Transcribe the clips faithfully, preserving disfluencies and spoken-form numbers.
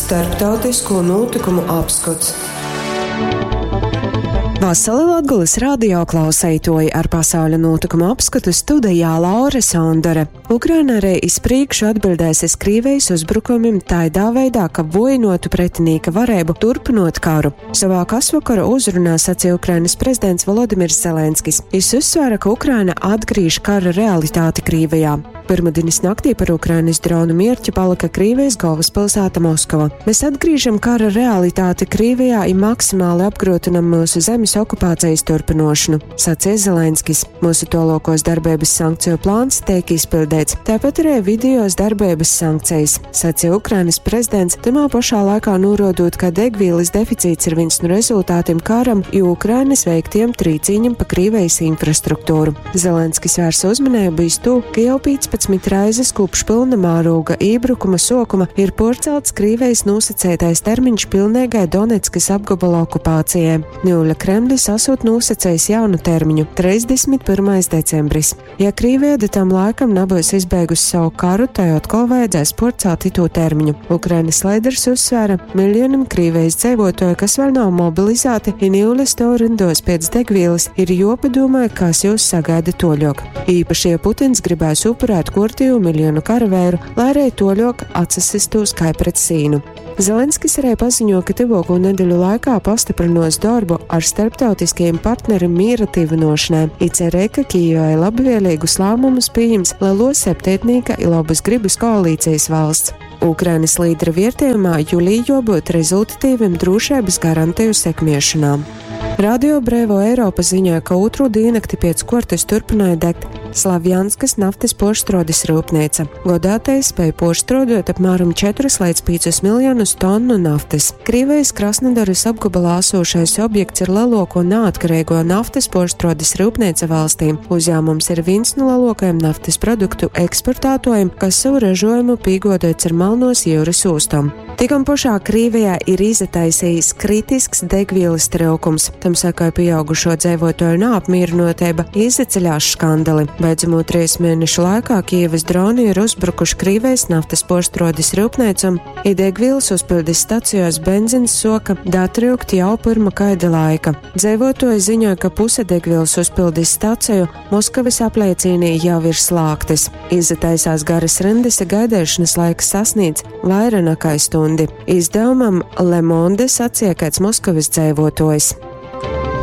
Starptautisko notikumu apskots. Vasali Latgulas radio klauseitoji ar pasauļa notikumu apskatu studijā Laura Sondore. Ukraina arī iz priekšu atbildēs iz Krīvijas uzbrukumiem taidā veidā, ka vojinotu pretinīka varēbu turpinot karu. Savā kasvakara uzrunā sacīja Ukrainas prezidents Volodimirs Zelenskis. Jis uzsvēra, ka Ukraina atgriež kara realitāti Krīvijā. Pirmdienas naktī par Ukrainas dronu mierķi palika Krīvijas galvaspilsēta Moskava. Mēs atgriežam kara realitāti Krīvijā i maksimāli apgrūtinam mūsu zemes okupācijas turpinošanu, sacīja Zelenskis. Mūsu tolokos darbības sankciju plāns tiek izpildīts, tāpat arī videos darbības sankcijas, sacīja Ukrainas prezidents, tamā pašā laikā norodot, ka degvielas deficīts ir viens no rezultātiem karam, jo Ukrainas veiktiem trīcīņam pa Krīvijas infrastruktūru. Zelenskis vērsa uzmanību iz to, ka jau piecpadsmit reizes kopš pilna mēroga iebrukuma sokuma ir porcelts Krīvijas nosacētais termiņš pilnīgai Donetskas apgabala okupācijai. Niuļa Kremlis esot nosacējis jaunu termiņu - trīsdesmit pirmais decembris. Ja Krīvija da tam laikam nebūs izbeigusi savu karu, tai atkal vajadzēs porcelt itū termiņu. Ukrainas lēders uzsvēra miljonam Krīvijas dzīvotoju, kas vēl nav mobilizēti, i niuļa stāv rindos pēc degvielas, ir jopadomā, kas jūs sagaida toļok. Īpaši, ja Putins gribēs upurēt kortīvu miljonu karavēru, lai arī toļok atsasistos kā pret sīnu. Zelenskis arī paziņo, ka tuvāko nedēļu laikā pastiprinos darbu ar starptautiskajiem partneriem miera tīvinošanai. I cerē, ka Kijevai labvēlīgus lēmumus pieņems lielo septiņnieka i labas gribas koalīcijas valsts. Ukrainas līdera vērtējumā jūlijā jābūt rezultatīviem drošības garantiju sekmēšanā. Radio Brēvo Eiropa ziņoja, ka otro diennakti pēc kortes turpināja degt Slavjanskas naftas porštrodes rūpnīca. Godātais spēja porštrodot apmēram četrus līdz piecus miljonus tonu naftas. Krīvijas Krasnodaras apgabalā esošais objekts ir lielāko neatkarīgo naftas porštrodes rūpnīca valstī. Uzņēmums ir viens no lielākajiem naftas produktu eksportētājiem, kas savu ražojumu pīgodots ar Melnos jūras ostom. Tikam pašā Krīvijā ir iztaisījis kritisks degvielas trūkums. Tam sekoja pieaugušo dzīvotāju neapmierinotība, izaceļās skandali. Beidzamo trīs mēnešu laikā Kijevas droni ir uzbrukuši Krīvijas naftas porštrodes rūpnīcam, i degvielas uzpildes stacijās benzins soka datryukt jau pirma kaida laika. Dzīvotoji ziņoja, ka puse degvielas uzpildes staciju Moskavas apliecīnī jau ir slāgtas. Izataisās garas rindas, gaidīšanas laiks sasniedz vairāk nekā stundi. Izdevumam Le Monde sacīja kāds Moskavas dzīvotājs.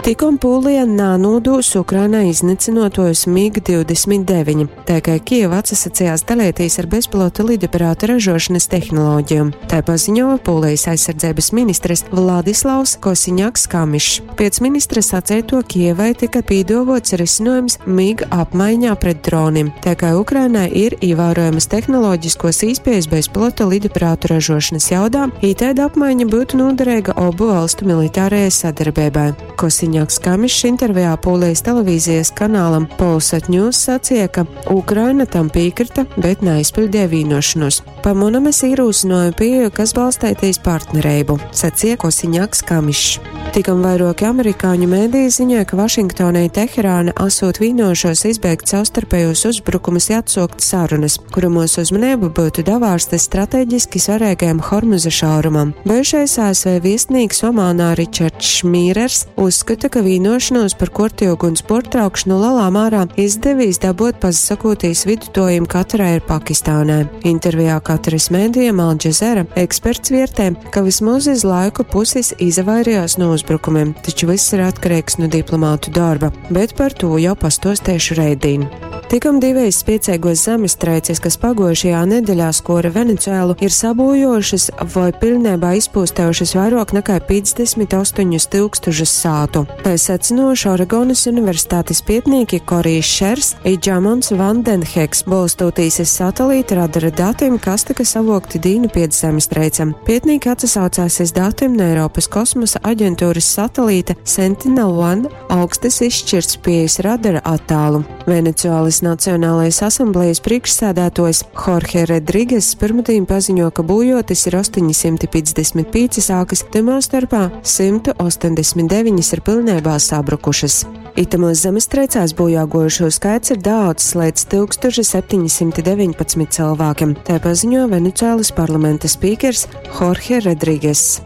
Tikom Pūlija nānūdūs Ukrainai iznīcinotojus MiG divdesmit deviņi, tā kā Kijeva atsasacījās dalīties ar bezpilota lidaparāta ražošanas tehnoloģiju. Tā paziņoja Pūlijas aizsardzības ministrs Vladislavs Kosiņaks Kamišs. Pēc ministra sacēto Kijevai tika pīdovots risinājums MiG apmaiņā pret dronim, tā kā Ukrainai ir ievērojamas tehnoloģiskos īspējas bezpilota lidaparātu ražošanas jaudā, itēda apmaiņa būtu noderīga obu valstu militārajai sadarbībai. Kosiņaks Kamišs intervijā Polijas televīzijas kanālam Polsat News sacīja, ka Ukraina tam piekrita, bet neizpildīja vienošanos. Pa munam es ierosināju pieeju, kas balstētīs partnerību, sacīja Kosiņaks Kamišs. Tikam vairāki amerikāņu mēdīji ziņoja, ka Vašingtonai Teherāna esot vienojušos izbeigt savstarpējos uzbrukumus i atsaukt sarunas, kuramos uzmanību būtu davārsta strateģiski svarīgajam Hormuza šaurumam. Bijušais A S V viestnieks Omānā Ričards Šmīrers uzskata, ka vienošanos par kortīgu uguns portraukšanu lielā mērā izdevīs dabūt pasakotīs vidutojiem Katarā ir Pakistānai. Intervijā Kataras mēdījam Al Jazeera eksperts vērtē, ka vismaz iz laiku puses izvairījās no uzbrukumiem, taču viss ir atkarīgs no diplomātu darba, bet par to jau pastostēšu reidīn. Tikam divas spiecīgos zemestrēces, kas pagojušajā nedēļā skora Venecuēlu, ir sabojošas vai pilnībā izpūstējušas vairāk nekā piecdesmit astoņus tūkstošus sātu. Tā secinoši Oregonas universitātes pētnieki Korijs Šers i Džamons Vandenheks, balstoties uz satelīta radara datiem, kas tika savokti dīnu pēc zemestrēcēm. Pētnieki atsaucās uz datiem no Eiropas kosmosa aģentūras satelīta Sentinel One augstas izšķirtspējas radara attālu. Venecuēlas Nacionālais asamblejas priekšsēdētājs Jorge Rodrigues pirmdien paziņo, ka būjotis ir astoņsimt piecdesmit piecas ākas, tamā starpā simt astoņdesmit deviņas ir pilnībā sabrukušas. Itamuos zemestreicēs bojā guojušū skaits ir daaudzs leidz tyukstūša septeņi symti deveņpadsmit cylvākim, tai paziņo Venecuēlys parlamenta spīkers Jorge Rodrīgess.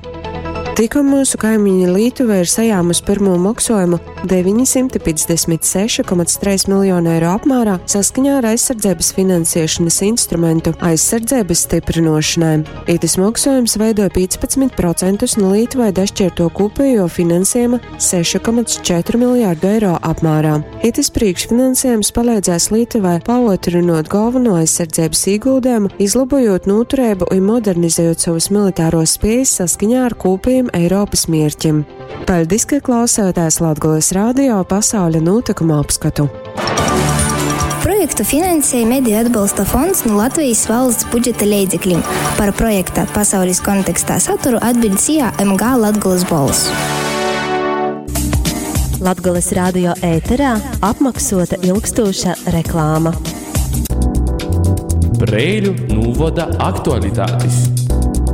Tikom myusu kaimiņi Lītuva ir sajāmusi pyrmū moksuojumu deveņi symti piecdesmit seši komats treis miljonu eiro apmērā saskaņā ar aizsardzības finansiešonys instrumentu aizsardzības styprynuošonai. Itys moksuojums veidoj pīcpadsmit procentus nu Lītuvai dašķierto kūpējo finansiejuma sešu komats četru miljārdu eiro apmērā. Itys prīškfinansiejums paleidzēs Lītuvai pauotrynuot galveno aizsardzības īguldējumu, izlobojot nūtureibu i modernizējot sovas militāros spējas saskaņā ar kūpējiem Eiropys mierķim. Paļdis, ka klausāties Latgolys radio pasauļa nūtykumu apskatu. Projektu finansēja Mediju atbalsta fonds nu Latvejis valsts budžeta leidzeklim. Par projekta Pasaulis kontekstā saturu atbiļd S I A M G Latgolys Bolss. Latgolys radio ēterā apmaksota ilgstūša reklāma. Preiļu nūvoda aktualitatis.